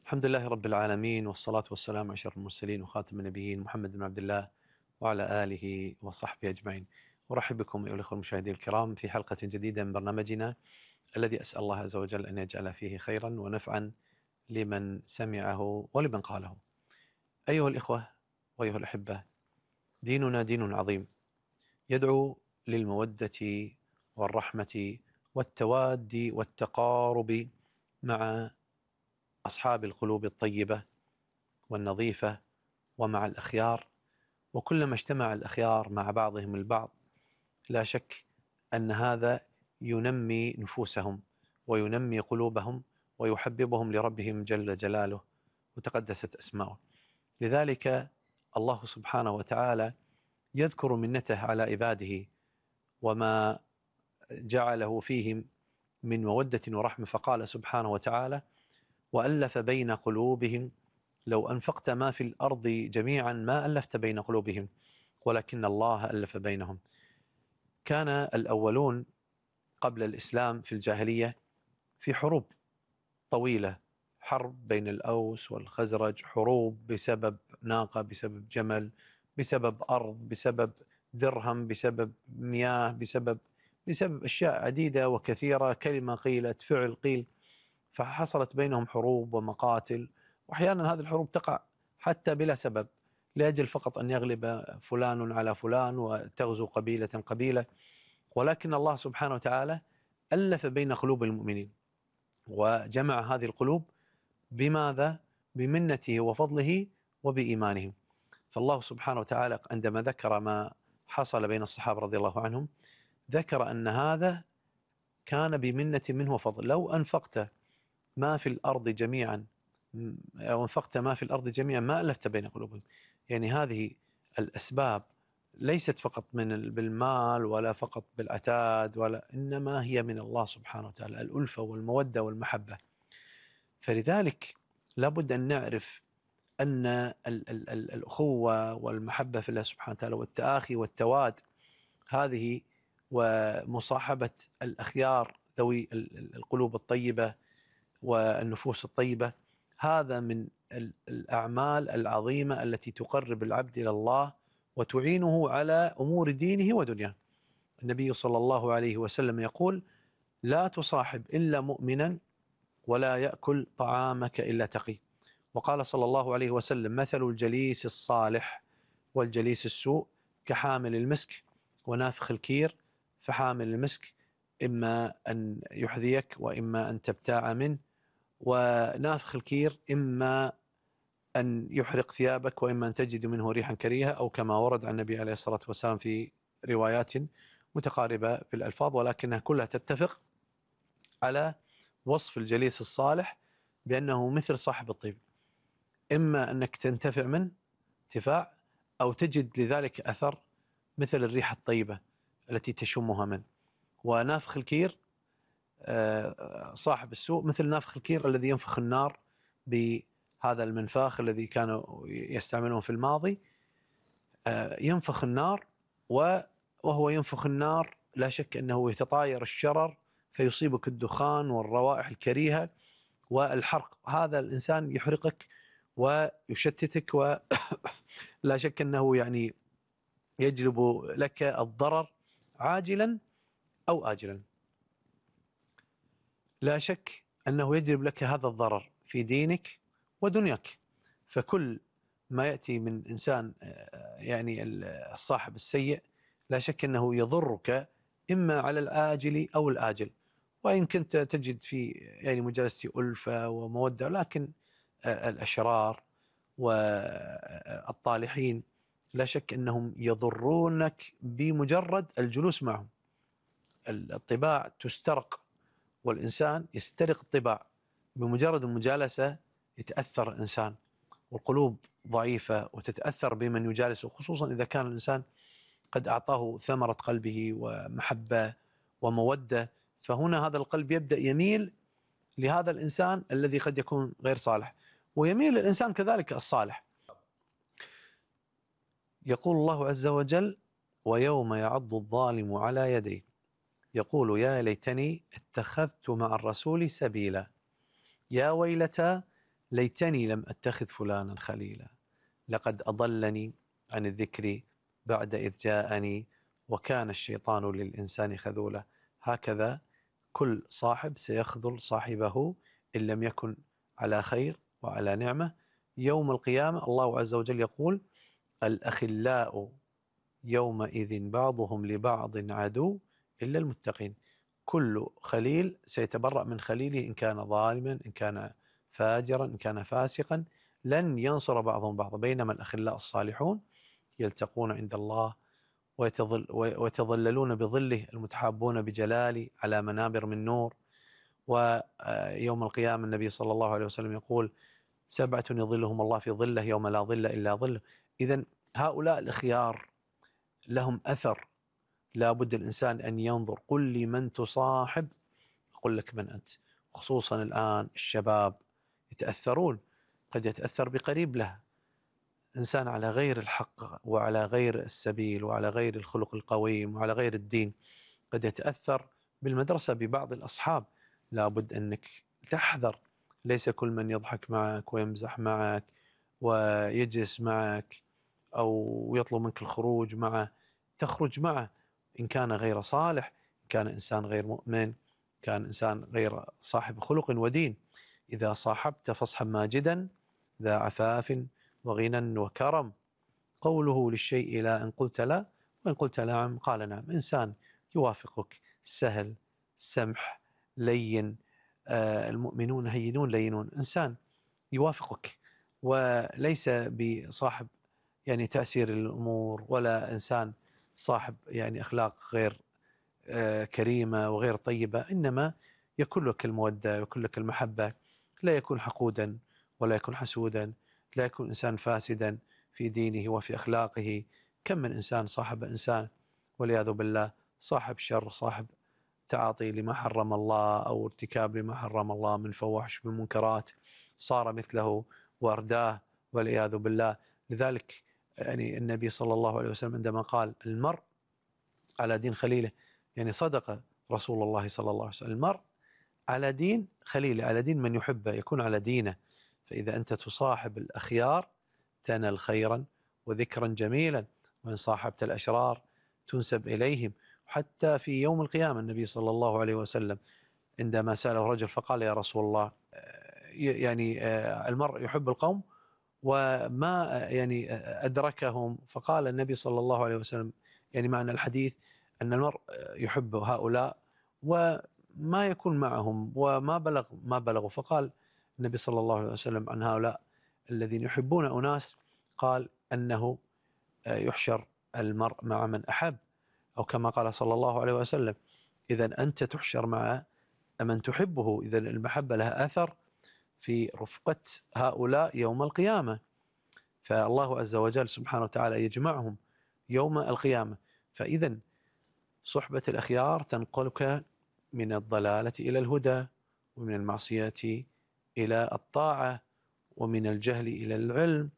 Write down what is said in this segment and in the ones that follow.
الحمد لله رب العالمين، والصلاة والسلام على أشرف المرسلين وخاتم النبيين محمد بن عبد الله وعلى آله وصحبه أجمعين. أرحب بكم أيها الأخوة المشاهدين الكرام في حلقة جديدة من برنامجنا الذي أسأل الله عز وجل أن يجعل فيه خيرا ونفعا لمن سمعه ولمن قاله. أيها الإخوة وأيها الأحبة، ديننا دين عظيم يدعو للمودة والرحمة والتواد والتقارب مع أصحاب القلوب الطيبة والنظيفة ومع الأخيار، وكلما اجتمع الأخيار مع بعضهم البعض لا شك أن هذا ينمي نفوسهم وينمي قلوبهم ويحببهم لربهم جل جلاله وتقدست أسماؤه. لذلك الله سبحانه وتعالى يذكر منته على عباده وما جعله فيهم من مودة ورحمة، فقال سبحانه وتعالى: وألف بين قلوبهم لو أنفقت ما في الأرض جميعا ما ألفت بين قلوبهم ولكن الله ألف بينهم. كان الأولون قبل الإسلام في الجاهلية في حروب طويلة، حرب بين الأوس والخزرج، حروب بسبب ناقة، بسبب جمل، بسبب أرض، بسبب درهم، بسبب مياه، بسبب أشياء عديدة وكثيرة، كلمة قيلت، فعل قيل، فحصلت بينهم حروب ومقاتل. وأحيانا هذه الحروب تقع حتى بلا سبب، لأجل فقط أن يغلب فلان على فلان وتغزو قبيلة قبيلة. ولكن الله سبحانه وتعالى ألف بين قلوب المؤمنين وجمع هذه القلوب بماذا؟ بمنته وفضله وبإيمانهم. فالله سبحانه وتعالى عندما ذكر ما حصل بين الصحابة رضي الله عنهم ذكر أن هذا كان بمنة منه وفضل. لو أنفقت ما في الأرض جميعا ما ألفت بين قلوبهم. يعني هذه الأسباب ليست فقط بالمال ولا فقط بالعتاد، إنما هي من الله سبحانه وتعالى، الألفة والمودة والمحبة. فلذلك لابد أن نعرف أن الأخوة والمحبة في الله سبحانه وتعالى والتآخي والتواد هذه، ومصاحبة الأخيار ذوي القلوب الطيبة والنفوس الطيبة، هذا من الأعمال العظيمة التي تقرب العبد إلى الله وتعينه على أمور دينه ودنياه. النبي صلى الله عليه وسلم يقول: لا تصاحب إلا مؤمنا ولا يأكل طعامك إلا تقي. وقال صلى الله عليه وسلم: مثل الجليس الصالح والجليس السوء كحامل المسك ونافخ الكير، فحامل المسك إما أن يحذيك وإما أن تبتاع منه، ونافخ الكير إما أن يحرق ثيابك وإما أن تجد منه ريحا كريهة، أو كما ورد عن النبي عليه الصلاة والسلام في روايات متقاربة في الألفاظ، ولكنها كلها تتفق على وصف الجليس الصالح بأنه مثل صاحب الطيب، إما أنك تنتفع منه انتفاع أو تجد لذلك أثر مثل الريحة الطيبة التي تشمها منه. ونافخ الكير صاحب السوء مثل نافخ الكير الذي ينفخ النار بهذا المنفاخ الذي كانوا يستعملون في الماضي، ينفخ النار، وهو ينفخ النار لا شك أنه يتطاير الشرر فيصيبك الدخان والروائح الكريهة والحرق. هذا الإنسان يحرقك ويشتتك، ولا شك أنه يعني يجلب لك الضرر عاجلا أو آجلا. لا شك أنه يجلب لك هذا الضرر في دينك ودنياك. فكل ما يأتي من إنسان يعني الصاحب السيء لا شك أنه يضرك إما على الآجل أو الآجل. وإن كنت تجد في يعني مجالسة ألفة ومودة، لكن الأشرار والطالحين لا شك أنهم يضرونك بمجرد الجلوس معهم. الطباع تسترق، والإنسان يسترق الطباع بمجرد المجالسة، يتأثر الإنسان، والقلوب ضعيفة وتتأثر بمن يجالسه، خصوصا إذا كان الإنسان قد أعطاه ثمرة قلبه ومحبة ومودة، فهنا هذا القلب يبدأ يميل لهذا الإنسان الذي قد يكون غير صالح، ويميل الإنسان كذلك الصالح. يقول الله عز وجل: ويوم يعض الظالم على يديه يقول يا ليتني اتخذت مع الرسول سبيلا يا ويلتى ليتني لم أتخذ فلانا خليلا لقد أضلني عن الذكر بعد إذ جاءني وكان الشيطان للإنسان خذولا. هكذا كل صاحب سيخذل صاحبه إن لم يكن على خير وعلى نعمة. يوم القيامة الله عز وجل يقول: الأخلاء يومئذ بعضهم لبعض عدو إلا المتقين. كل خليل سيتبرأ من خليله إن كان ظالما، إن كان فاجرا، إن كان فاسقا، لن ينصر بعضهم بعضا. بينما الأخلاء الصالحون يلتقون عند الله ويتظللون بظله، المتحابون بجلالي على منابر من نور. ويوم القيامة النبي صلى الله عليه وسلم يقول: 7 يظلهم الله في ظله يوم لا ظل إلا ظله. إذن هؤلاء الأخيار لهم أثر، لا بد الإنسان أن ينظر. قل لي من تصاحب أقول لك من أنت. خصوصا الآن الشباب يتأثرون، قد يتأثر بقريب له، إنسان على غير الحق وعلى غير السبيل وعلى غير الخلق القويم وعلى غير الدين، قد يتأثر بالمدرسة ببعض الأصحاب. لا بد أنك تحذر، ليس كل من يضحك معك ويمزح معك ويجلس معك أو يطلب منك الخروج معه تخرج معه. إن كان غير صالح، إن كان إنسان غير مؤمن، كان إنسان غير صاحب خلق ودين. إذا صاحبت فاصحب ماجدا ذا عفاف وغنى وكرم. قوله للشيء لا إن قلت لا، وإن قلت نعم قال نعم. إنسان يوافقك، سهل، سمح، لين. المؤمنون هينون لينون. إنسان يوافقك وليس بصاحب يعني تأثير الأمور، ولا إنسان صاحب يعني أخلاق غير كريمة وغير طيبة، إنما يكون لك المودة ويكون لك المحبة. لا يكون حقودا ولا يكون حسودا، لا يكون إنسان فاسدا في دينه وفي أخلاقه. كم من إنسان صاحب إنسان والعياذ بالله صاحب شر، صاحب تعاطي لما حرم الله أو ارتكاب لما حرم الله من فواحش من منكرات، صار مثله وارداه والعياذ بالله. لذلك يعني النبي صلى الله عليه وسلم عندما قال: المرء على دين خليله، يعني صدق رسول الله صلى الله عليه وسلم. المرء على دين خليله، على دين من يحبه، يكون على دينه. فإذا أنت تصاحب الأخيار تنال خيرا وذكرا جميلا، وإن صاحبت الأشرار تنسب إليهم. حتى في يوم القيامة النبي صلى الله عليه وسلم عندما سأله رجل فقال: يا رسول الله، يعني المرء يحب القوم وما يعني أدركهم. فقال النبي صلى الله عليه وسلم، يعني معنى الحديث أن المرء يحب هؤلاء وما يكون معهم وما ما بلغوا. فقال النبي صلى الله عليه وسلم عن هؤلاء الذين يحبون أناس، قال أنه يحشر المرء مع من أحب، أو كما قال صلى الله عليه وسلم: إذا أنت تحشر مع من تحبه. إذا المحبة لها أثر في رفقة هؤلاء يوم القيامة. فالله عز وجل سبحانه وتعالى يجمعهم يوم القيامة. فإذا صحبة الأخيار تنقلك من الضلالة إلى الهدى، ومن المعصية إلى الطاعة، ومن الجهل إلى العلم،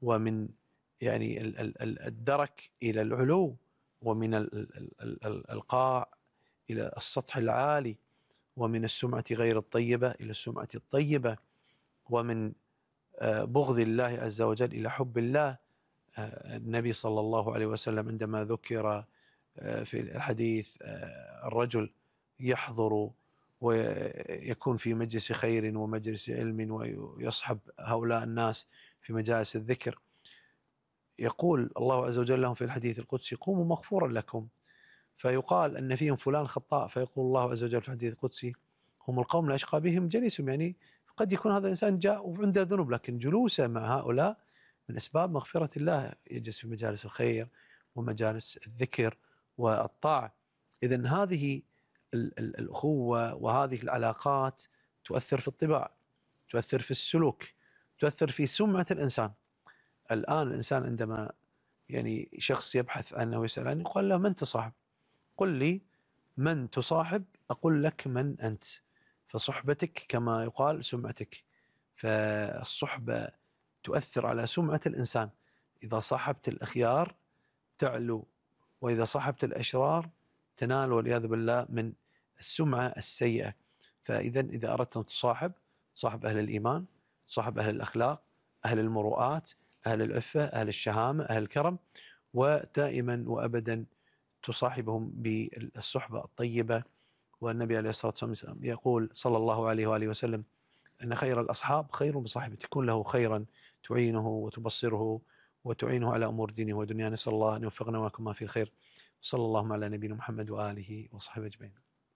ومن يعني الدرك إلى العلو، ومن القاع إلى السطح العالي، ومن السمعة غير الطيبة إلى السمعة الطيبة، ومن بغض الله عز وجل إلى حب الله. النبي صلى الله عليه وسلم عندما ذكر في الحديث الرجل يحضر ويكون في مجلس خير ومجلس علم ويصحب هؤلاء الناس في مجالس الذكر، يقول الله عز وجل لهم في الحديث القدسي: قوموا مغفورا لكم. فيقال أن فيهم فلان خطاء، فيقول الله عز وجل في الحديث القدسي: هم القوم لا يشقى بهم جليسهم. يعني قد يكون هذا الإنسان جاء وعنده ذنوب، لكن جلوسه مع هؤلاء من أسباب مغفرة الله، يجلس في مجالس الخير ومجالس الذكر والطاعة. إذن هذه الأخوة وهذه العلاقات تؤثر في الطباع، تؤثر في السلوك، تؤثر في سمعة الإنسان. الآن الإنسان عندما يعني شخص يبحث عنه ويسأل عنه، يقول له: من تصاحب؟ قل لي من تصاحب أقول لك من أنت. فصحبتك كما يقال سمعتك. فالصحبة تؤثر على سمعة الإنسان. إذا صاحبت الأخيار تعلو، وإذا صاحبت الأشرار تنال والعياذ بالله من السمعة السيئة. فإذا إذا أردت أن تصاحب، صاحب أهل الإيمان، صاحب أهل الأخلاق، أهل المروءات، أهل العفة، أهل الشهامة، أهل الكرم، ودائما وأبدا تصاحبهم بالصحبة الطيبة. والنبي عليه الصلاة والسلام يقول صلى الله عليه وآله وسلم أن خير الأصحاب خير بصاحبه، تكون له خيرا تعينه وتبصره وتعينه على أمور دينه ودنياه. نسأل الله أن يوفقنا وياكم ما في الخير. صلى الله على نبينا محمد وآله وصحبه أجمعين.